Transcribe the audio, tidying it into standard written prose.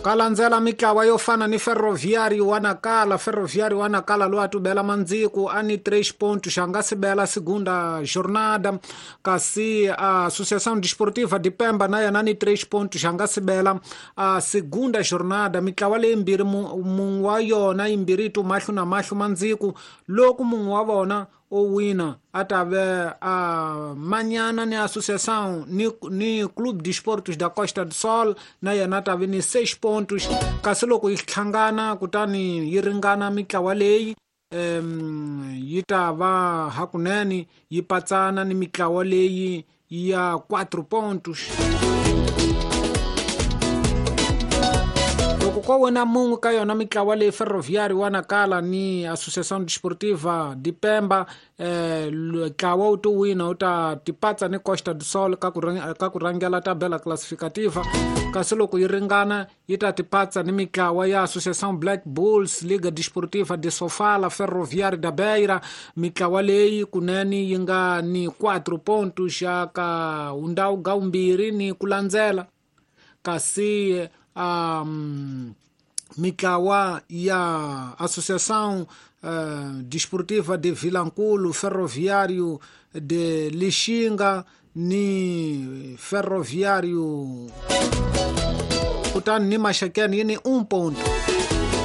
Ka landzela mitlawa yo fana ni Ferroviário wa Nacala. Ferroviário wa Nacala loyi a tubela mandziku a ni 3 pontos, a nga sibela segunda jornada. Kasi a Associação Desportiva de Pemba na yena ni 3 pontos, a nga sibela a segunda jornada. Mitlawa leyimbirhi mun'we wa yona yimbirhi yi tu mahlo na mahlo mandziku, loko mun'we wa vona o wina a ta ve a manyana ni Associação ni Clube de Esportes da Costa do Sol, na yena a ta ve ni 6 pontos. Kasi loko yi hlangana kutani yi ringana mitlawa leyi, yi ta va hakunene yi patsana ni mitlawa leyi ya 4 pontos. Loko ko wina mun'we ka yona mitlawa leyi, Ferroviário wa Nacala ni Associação Desportiva de Pemba, ntlawa wu to wina wu ta tipatsa ni Costa do Sol ka ku rhangela tabela classificativa. Kasi loko yi ringana yi ta tipatsa ni mitlawa ya Associação Black Bulls, Liga Desportiva de Sofala, Ferroviário da Beira. Mitlawa leyi kunene yi nga ni 4 pontos ya ka undhawu ga vumbirhi ni ku landzela. Kasi mitlawa ya Associação Desportiva de Vilankulo, Ferroviário de Lixinga ni Ferroviário kutani ni Maxakeni yi ni 1 ponto.